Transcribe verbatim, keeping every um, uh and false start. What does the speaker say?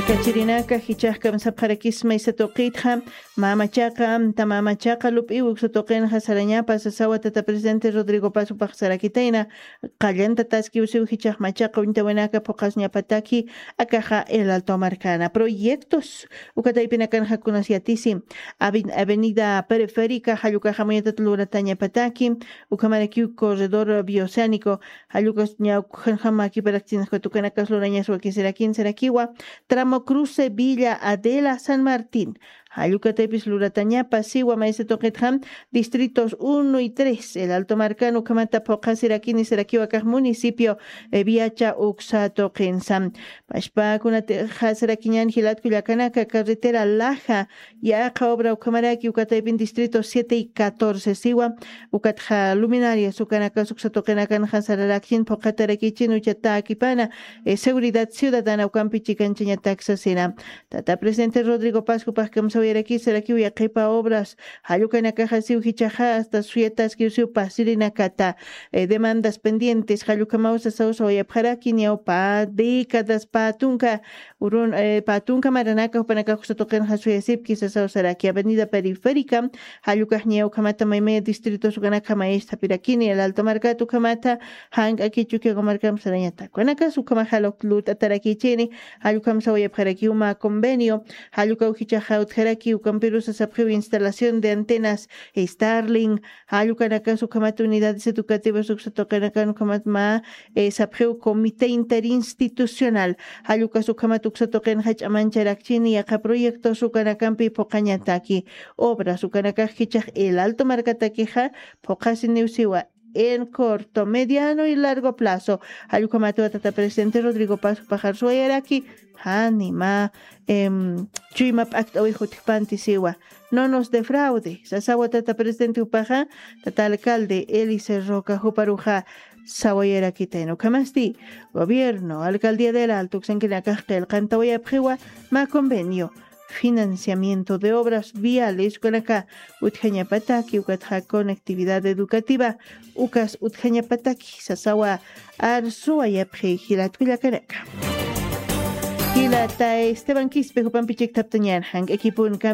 Kachirinaka jichhax kamsapxarakisma isa tuqitxa, mamachaqa amta mamachaqa lup'iw uksa tuqinxa sarañapa sasawa tata presidente Rodrigo Pazupax sarakitayna, qallantataskiw siw jichhax machaqa uñtawinaka phuqasñapataki. Akaxa El Alto markana proyectos ukataypinakanxa kunas yatisi, Aven- avenida periférica jallukaxa muñatat luratañapataki, ukhamarakiw corredor bioceánico jallukas ñawkhanxama kiparakchinxka tukanakas lurañas wakisirakin sarakiwa, tramo cruce Villa Adela San Martín jallukataypis luratañapa siwa maysa tuqitxam, distritos uno y tres El Alto markan ukhamata phuqhasirakini sarakiwa kax municipio, eh, viacha uksa tuqinsa. Pashpakunatixasirakiñan jilatku llakanaka carretera laja yaqha obra ukhamaraki ukataypin distrito siete y catorce siwa, ukatxa luminarias ukanakas uksa tuqinakanxa sararakchin phuqhatarakichin uchatakipana, eh, seguridad ciudadana ukampi chikanchañatak sasina. Tata presidente Rodrigo Pascupax kamsawayaraki sarakiw yaqhipa obras jallukanakaxa siw jichhaxa hasta suyataskiw siw pasirinakata, eh, demandas pendientes jallukhamaw sasaw sawayapxaraki ñawpa décadas pä tunka urun, eh, pä tunka maranaka jupanakax uksa tuqinxa suyasipki sasaw saraki. Avenida periférica jallukax ñawkhamata maymaya distritos ukanakxa mayisthapirakini El Alto markat ukhamata, jank'aki Chukiyawu markam sarañatak ukanakas ukhamaxa lut'atarakichini. Jallukham sawayapxaraki uma convenio, jallukaw jichhaxa utjaraki ukampirusa sapxiw instalación de antenas Starlink, jallukanakas ukhamat unidades educativas uksa tuqinakan ukhamat mä, eh, sapxiw comité interinstitucional, jallukas ukhamat uksa tuqinxa ch'amancharakchini yaqha proyectos ukanakampi phuqhañataki. Obras ukanakax jichhax El Alto markatakixa phuqhasiniw siwa en corto, mediano y largo plazo. Jallukhamatwa tata presidente Rodrigo Pascupax arsuwayaraki, jani mä, em, chuyma p'akt'awix utjpanti siwa. No nos defraude sasawa tata presidente jupaxa, tata alcalde Elicer Roca juparuxa sawayarakitayna. Ukhamasti gobierno, alcaldía del Alto uksankinakax qillqantawayapxiwa mä convenio, financiamiento de obras viales ukanaka utjañapataki ukatxa conectividad educativa ukas utjañapataki sasawa arsuwayapxi jilatku llakanaka. Jilata Esteban Quispe jupampi chikthaptañan jank'akipun